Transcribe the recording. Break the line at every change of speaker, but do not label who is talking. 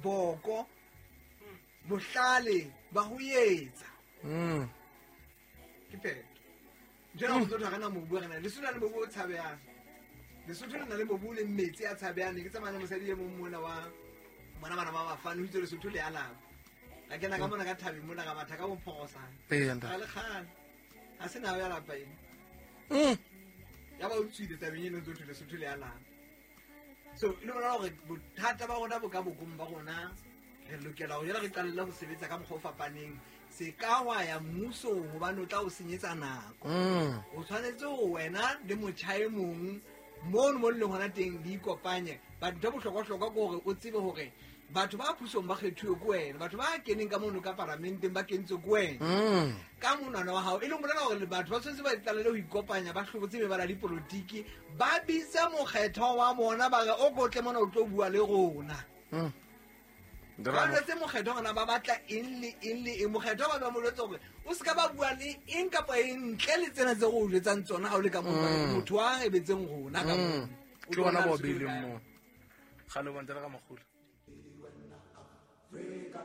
Boko bohlale ba ho etsa. Ke phetho. Ntho ena go tswa na mobu re na Lesotho na le mobu o tshabehang. Lesotho le na le mobu o leng metsi a tshabehang. Ne ke tsamaya le mosadi e mong mona wa bona bana ba bafane, o itse Lesotho le alaba. Ka kena ka mona ka thabeng mona, ka matha ka bophorosane.
Ee, ntate.
Ga le kgale. Ha se nao ya lapa ena. Ya ba o tswile tabeng eno, ntse o thwe Lesotho le alaba. So e le bona gore bothata ba rona bo ka bokong ba rona. Re lokela go jela re qalelle go sebetsa ka mokgwa o fapaneng. Se ka wa ya mmusong gobane o tla o senyetsa nako. O tshwanetse go wena le motjha e mong mono mo le leng gona teng le ikopanye. But ntho e bohlokwa-hlokwa ke gore o tsebe gore batho ba pusong ba kgethuwe ke wena, batho ba keneng ka mono ka paramenteng ba kentswe ke wena ka monwana wa gago. E leng bolela gore batho ba tshwanetse ba qalele go ikopanya, ba hlobotse mebala ya dipolotiki, ba bitse mokgetho wa bona, ba re o kotle mona o tlo bua le rona. Ba jwetse mokgetho gona ba batla eng le eng le eng. Mokgetho ba ba mo jwetse gore o se ka ba bua le eng kapa eng ntle le tsena tse go o jwetsang tsona ga o le ka mo motho wa ebetseng rona ka moo. O
Ke bona
tlo
bao
bona Lesotho
beileng
kae?
Moo gale bontle ka magolo.
Afrika.